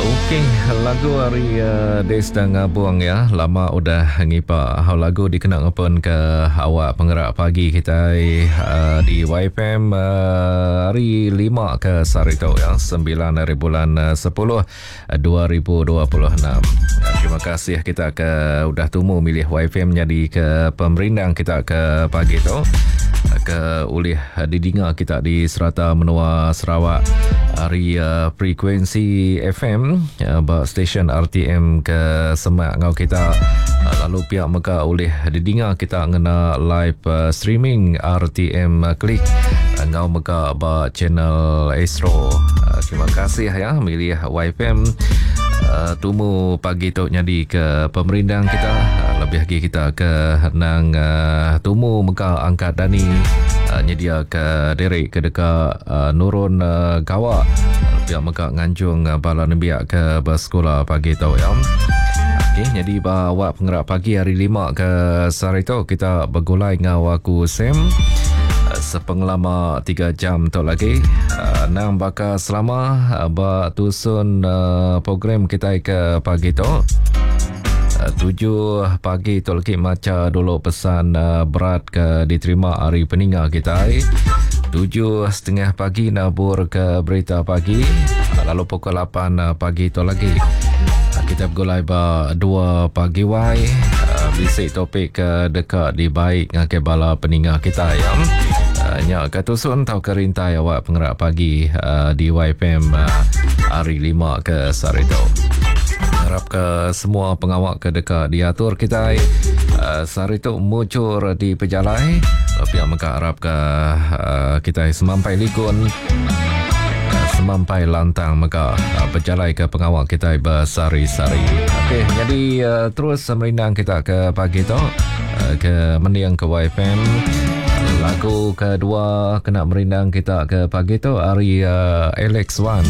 Okey, lagu ari uh, Desta Ngabung ya, lama udah ngipa hau lagu dikena ngepun ke awak pengerak pagi kita uh, di YFM uh, hari 5 ke sehari tu ya, 9 hari bulan uh, 10 2026. Terima kasih kita ke udah tumu milih YFM jadi ke pemerindang kita ke pagi tu ke ulih didinga kita di serata menua Sarawak hari uh, frekuensi FM uh, ba stesen RTM ke semak ngau kita uh, lalu pihak mega ulih didinga kita ngena live uh, streaming RTM Klik ngau mega ba channel Astro. Uh, terima kasih ya milih YFM uh, tumu pagi tu nyadi ke pemerindang kita uh, lebih lagi kita ke nang uh, tumu mega angkat dani uh, nyedia ke diri ke deka uh, nurun uh, gawa pihak mega nganjung uh, bala nembiak ke bersekolah pagi tu ya. Okey, jadi ba awak pengerak pagi hari 5 ke sehari tu kita bergulai ngau aku Sam sepengelama 3 jam tu lagi. Uh, nang baka selama uh, ba tusun uh, program kita ke pagi tu. 7 pagi tu lagi maca dulu pesan berat ke diterima hari peninga kita. 7.30 pagi nabur ke berita pagi. Lalu pukul 8 pagi tu lagi kita bergulai ba 2 pagi wai bisi topik ke dekat dibaik ngagai bala peninga kita ya. Nya ke tusun tau ke rintai awak pengerak pagi di YFM hari 5 ke sehari tu. Harap ke semua pengawak ke dekat diatur kita sehari tu muncul di pejalai. Pihak mega harap ke kita semampai likun semampai lantang mega berjalai ke pengawak kita bersari-sari. Okey, jadi terus merindang kita ke pagi tu ke mending ke YFM. Lagu kedua kena merindang kita ke pagi tu hari Alex Wan.